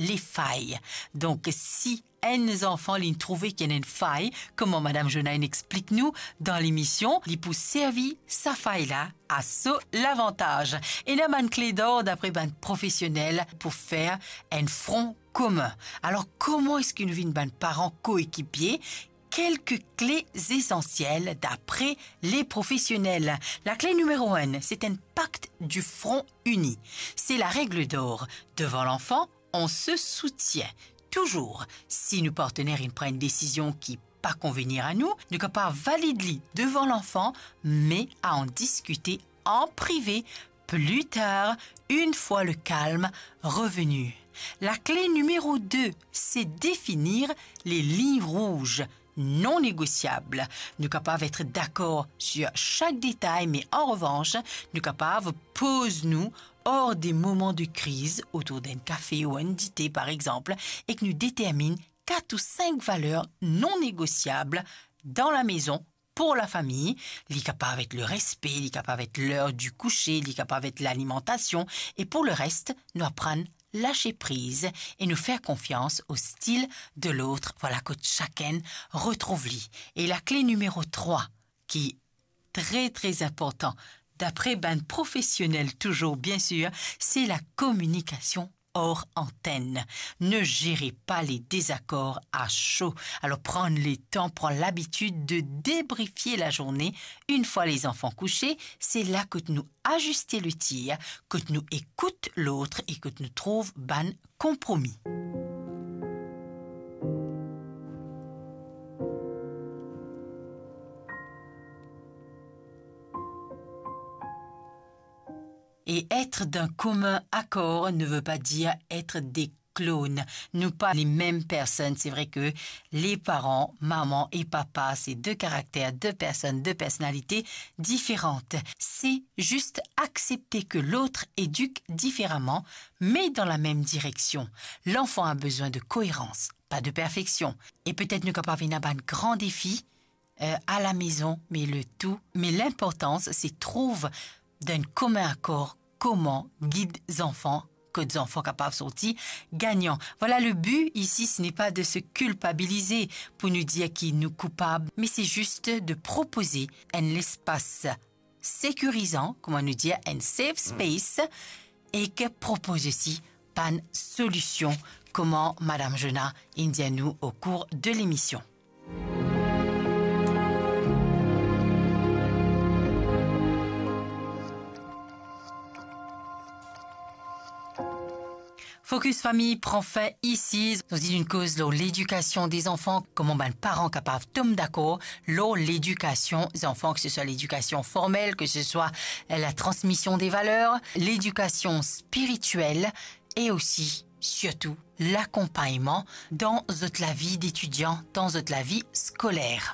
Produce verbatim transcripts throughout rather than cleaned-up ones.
les failles. Donk, si enn zanfan li trouve ki ena enn fay, kouma Madam Jonah inn explik nou dan lemision, li pou servi sa fay la a so lavantaz. Ena bann kle dor dapre bann profesionel pou fer enn fron komin. Alor, kouma eski nou vinn bann paran koekipie? Kelke kle esansiel dapre les professionnels. Lakle nimero enn, se enn pakt di fron ini. Se la règle d'or. Devant l'enfant, on se soutient. Touzour, si nou partener inn pran enn desizion ki pa konvenir a nou, nou kapav valid li devan lanfan, me a ann diskite an prive, pli tar, enn fwa le kalm reveni. Lakle nimero de, se definir les lignes rouges non négociables. Nou kapav et dakor sir sak detay, me an revans, nou kapav poz nou or de moman de kriz, otour d'enn kafe ou enn dite, par exanp, ek nou determinn kat ou sink valer non négosiab dan lamezon pou lafami. Li kapav et le respe, li kapav et ler di kouse, li kapav et lalimantasion, e pou le res, nou aprann lase priz e nou fer konfians o stil de lot, vwala, kot sakenn retrouv li. E lakle nimero trwa, ki tre, tre inportan, dapre bann profesionel touzour, biensir, se la kominikasion or antenn. Ne zere pa le dezakor a so. Alor, pran letan, pran labitid de debrifie lazourne. Enn fwa lezanfan kouse, se la kot nou aziste le tir, kot nou ekout lot e kot nou trouv bann konpromi. Et être d'un commun accord ne veut pas dire être des clones. Nou pa lemem personn. Se vre ke le paran, mama e papa, se de karakter, de personn, de personalite diferan. Se zis aksepte ke lot edik diferaman, me dan lamem direksion. Lanfan a bezwin de koerans, pa de perfeksion. E petet nou kapav ena bann gran defi, euh, a lamezon, me le tou, me linportans, se trouv dan enn komin akor kouma gid zanfan, kot zanfan kapav sorti gagnan. Vwala, le bi isi, se n'est pas de se culpabiliser pou nou dir ki nou koupab, me se zis de propoze enn lespas sekirizan, kouma nou dir, enn safe space, e ki propoze osi bann solision, kouma Madam Jonah inn dir nou o kour de lemision. Focus Famille pran fin isi. Nou ti inn koz lor ledikasion de zanfan, kouma bann paran kapav tom dakor lor ledikasion zanfan, ke se swa ledikasion formel, ke se swa la transmision de valer, ledikasion spiritiel, e osi, sirtou, lakonpagnman dan zot lavi detidian, dan zot lavi skoler.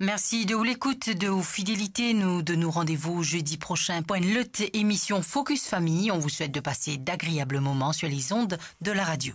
Mersi de ou lekout, de ou fidelite. Nou donn ou randevou zedi prosin pou enn lot emision Focus Famille. On vous souhaite de passer d'agréables moments sur les ondes de la radio.